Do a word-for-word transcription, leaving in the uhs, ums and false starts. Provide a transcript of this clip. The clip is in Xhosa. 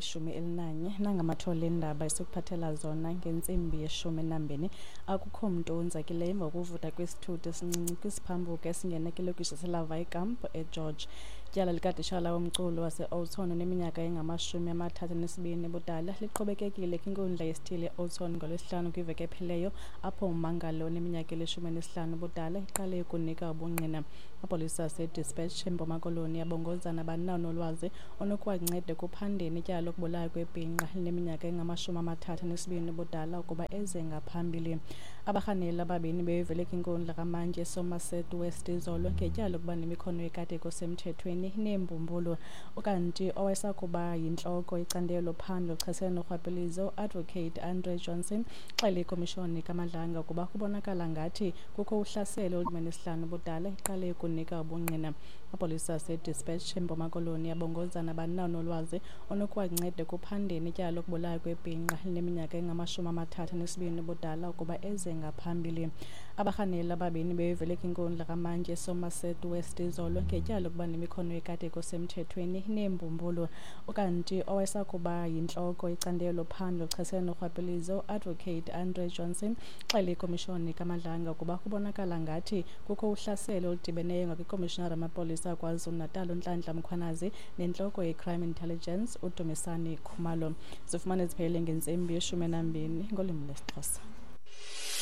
Yeshumi elinanye nangamathole endaba esikuphathela zona ngentsimbi yeshumi enambini. Akukho mntu wonzakileyo emva kokuvutha kwesithuthi esincinci kwisiphambuka esingena kwilokishi yaseLawaaikamp eGeorge. Ityala likatitshala womculo wase-Oudtshoorn oneminyaka engamashumi amathathu anesibini ubudala liqhubekekile kwinkundla yesithili e-Oudtshoorn ngoLwesihlanu kwiveki ephelileyo, apho ummangali oneminyaka elishumi elinesihlanu ubudala eqale ukunika ubungqina. Amapolisa aseDispatch eMpuma Koloni abongoza nabani na onolwazi onokuwanceda ekuphandeni ityala lokubulawa kwebhinqa elineminyaka engamashumi amathathu anesibini ubudala ukuba eze ngaphambili. Abarhanelwa ababini bebevele kwinkundla kamantyi eSomerset West izolo ngetyala lokuba nemikhono yekati kusemthethweni neembumbulu. Ukanti owayesakuba yintloko yecandelo lophando oluchasene norhwaphilizo, uAdvocate Andre Johnson, uxelele ikomishoni kaMadlanga ukuba kubonakala ngathi kukho uhlaselo olunesihlanu ubudala eqale ukunika ubungqina. Amapolisa aseDispatch eMpuma Koloni abongoza nabani na onolwazi onokuwanceda ekuphandeni ityala lokubulawa kwebhinqa elineminyaka engamashumi amathathu anesibini ubudala ukuba eze ngaphambili. Abarhanelwa ababini bebevele kwinkundla kamantyi eSomerset West izolo ngetyala lokuba nemikhono yekati kusemthethweni neembumbulu. Ukanti owayesakuba yintloko yecandelo lophando oluchasene norhwaphilizo, uAdvocate Andre Johnson, uxelele ikomishoni kaMadlanga ukuba kubonakala ngathi kukho uhlaselo oludibeneyo ngakwikomishonari yamapolisa KwaZulu-Natal uNhlanhla Mkhwanazi nentloko ye-Crime Intelligence uDumisani Khumalo. Zifumane ziphelele ngentsimbi yeshumi enambini ngolwimi lwesiXhosa.